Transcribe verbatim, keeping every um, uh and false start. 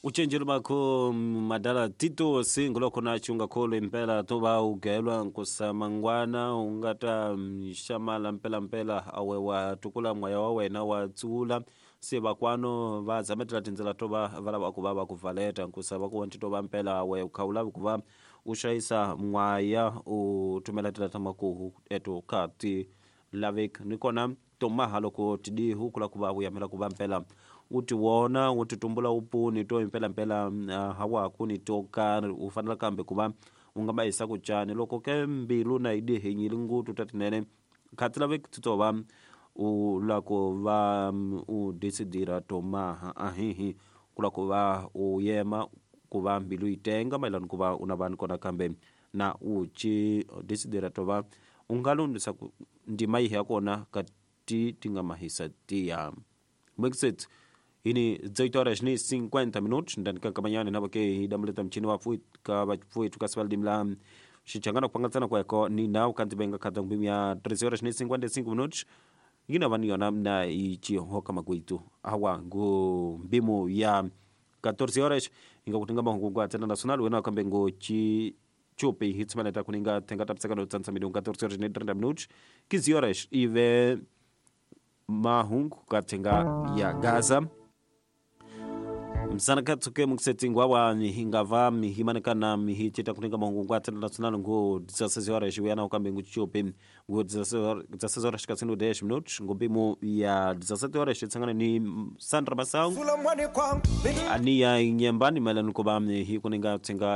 Uchenjelo bakho madala Tito singuloko na chunga kholo impela toba ugelwa nkusamangwana ungata xamala mpela mpela awe wa tukula moya wa wena wa tsula se vakwano va zametela tindzela to va va lava ku va va ku valeta nkusa va ku wanti to va mpela awe ukhawula ku va u xayisa mwaya u tumela tela ta makuhu eto ka ti lavek ni kona tomaha loko tidihu kula ku va u yamela ku va mpela u ti wona u ti tumbula upuni to impela mpela uh, hawa kuni to karhi u fanela kambe ku va u nga ma yisa ku cani loko ke mbilu na yi dihinyile ngutu ta tinene khati lavek ti to va u la ku va u desidira tomaha ahihi ku la ku va u yema ku va mbilu yi tenga mayelana ku va u na vanhu kona kambe na u ci desidira to va u nga lundisa ku ndima yihi ya kona ka ti ti nga mahisa tiya Brexit ini dezoito horas ni cinquenta minutos ndani kankamanyane navo ke hidamuleta mchini wa fuit ka vafuitu ka sivaldimla xichangana kupangatsana kweko ni nawu kanti benga khata ngumbi ya treze horas ni cinquenta e cinco minutos yina vani yona na ichihoka makuitu awa ngu mbimu ya catorze horas inga kutinga mahungu ngwa tena nacional wena kambe ngo chi chupi hitsimana kuninga tenga tapsaka no tsansa midunga catorze horas ni trinta minutos quinze horas ive mahungu katenga ya Gaza msana katsuke muksetingwa wa hingava mihimanekana mihichita kuninga mahungu ngwa tena nacional ngo dezesseis horas wena kambe ngo chupi ngo dezesseis horas kasino dez minutos ngo bimu ya dezessete horas tsangana ni Sandra Masang ania nyembani melano ko ba hi kuninga tsenga